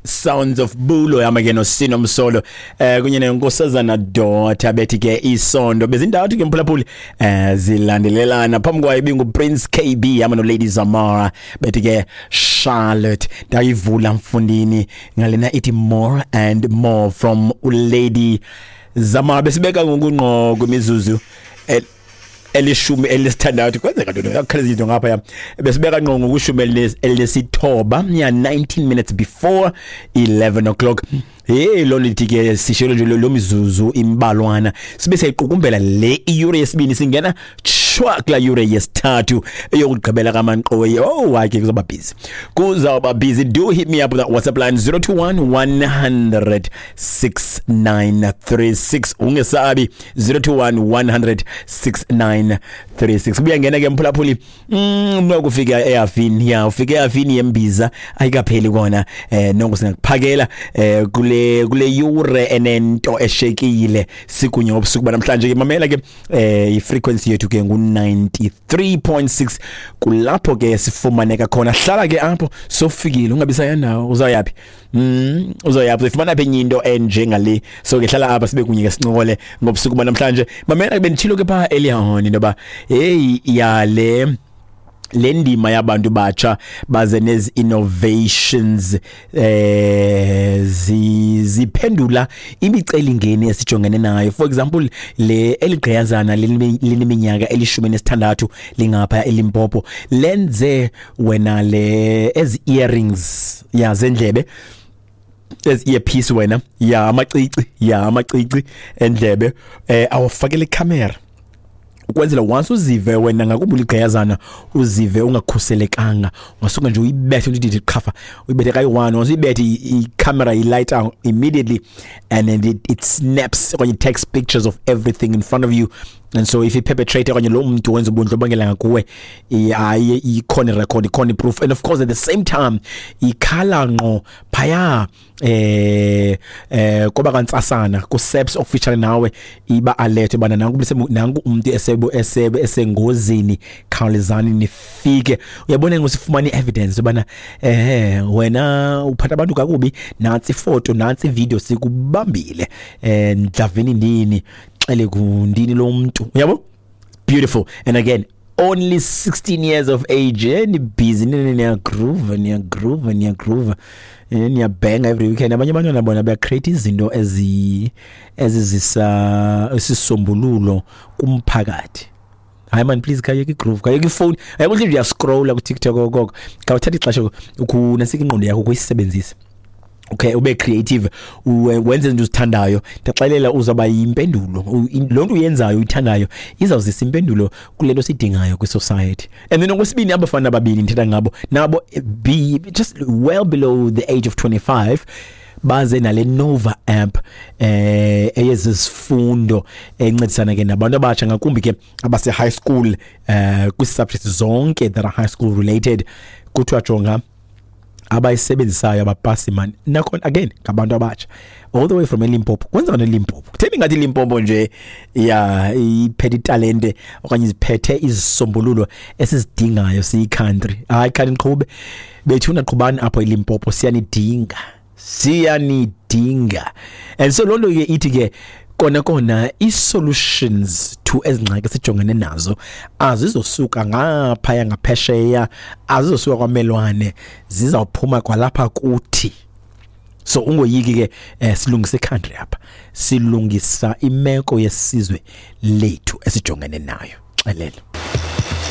Sounds of Bulo yama ke noSino Msolo kunye nenkosazana Daughter bethi ke isondo bezintathu ke mphulaphuli zilandelelana. Phambi kwayo ibingu Prince KB yama no Lady Zamara bethi ke Charlotte. Ndayivula mfundini ngalena ithi More and More from Lady Zamara. Besibeka ngokungqo kwimizuzu 16. Kwenzeka ntoni? Yakukhala izinto ngapha ya. Besibeka ngqo ngokushumi elinesithoba ya, 19 minutes before 11 o'clock. Hey, lo lithi ke sishelo nje lo mizuzu imbalwana sibe siyayiqukumbela le iyure yesibini, singena shwa kula yure yesithathu eyokugqibela kamanqoyi. Oh hayi ke, kuzoba busy, kuzawuba busy. Do hit me up with that WhatsApp line, 021 100 6936. Ungesabi, 021 100 6936. Kubuya ngena ke mphulaphuli, nokufika ehafini ya, ufike ehafini yembiza ayikapheli kona. Nongo singakuphakela kule yure enento eshekile sikunye ngobusuku banamhlanje ke. Mamela ke, i-frequency yethu ke ngu 93.6, kulapho ke sifumaneka khona. Hlala ke apho, sofikile, ungabi saya nawo. Uzayaphi? Uzoyaphi? Uzifumana phi enye into enjengale? So ke hlala apha, sibe kunye ke, sincokole ngobusuku banamhlanje. Mamela, benditshilo ke pha earlier on into yoba hey, yale le ndima yabantu batsha baze nezi innovations ziphendula imicelingeni esijongene nayo. For example, le eligqiyazana lineminyaka 16 lingapha eLimpopo lenze wena le ezi earrings ya zendlebe, ezi earpiece wena ya, amacici ya, amacici endlebe awafakele camera ukwenzela once uzive wena, ngakumbi uligqiyazana, uzive ungakhuselekanga, ungasuka nje uyibethe into ithi qhafa, uyibethe kayi-one. Once uyibethe, i-camera i-light out immediately and then it snaps okanye it takes pictures of everything in front of you. And so if i-perpetrator okanye lo mntu wenza ubundlobongela ngakuwe, hayi, ikhona i-record, ikhona i-proof. And of course at the same time ikhala ngqo phaya koba kantsasana ku-SAPS official nawe, iba alert bana nanku nanku umuntu esebo esebe esengozini, khawulezani nifike. Uyabona, ngosifumana i-evidence ubana wena uphatha abantu kakubi, nantsi ifoto, nantsi ivideo, sikubambile ndlavini ndini, xele kundini lo muntu, uyabo? Beautiful. And again, only 16 years of age. Ni busy niya groove, niya groove, niya groove, niyabhenga every weekend. Abanye abantwana bona baya-create izinto ezizisa isisombululo kumphakathi. Hayi man, please khayeka i-groove, khayeka ifowuni, ayikho nje, uyascrolla ku-TikTok okoko. Khawuthatha ixesha ukunasika ingqondo yakho ukuyisebenzisa, okay, ube creative, wenze izinto uzithandayo. Ndaxelela, uzawuba yimpendulo. Loo nto uyenzayo uyithandayo izawuzisa impendulo kule nto siyidingayo kwi-society. And then okwesibini, abafana ababini ndithetha ngabo nabo, be just well below the age of 25, baze nale Nova app eyezizifundo encedisana ke nabantu abatsha, ngakumbi ke abase high school, kwi-subjects zonke that are high school related. Kuthiwa jonga, abayisebenzisayo abapasi mani. Nakhona again ngabantu abatsha all the way from eLimpopo. Kwenzeka neLimpopo, kutheni ngathi iLimpopo nje ya iphethe italente okanye iziphethe izisombululo esizidingayo siyi-country? Hayi, khani niqhube bethuna, qhubani apho eLimpopo, siyanidinga, siyanidinga. And so loo nto ke ithi ke kona kona i-solutions to ezingxaki sijongene nazo azizosuka ngaphaya ngaphesheya, azizosuka kwamelwane, zizawuphuma kwalapha kuthi. So ungoyiki ke, silungisa i-country apha, silungisa imeko yesizwe lethu esijongene nayo. Xelele.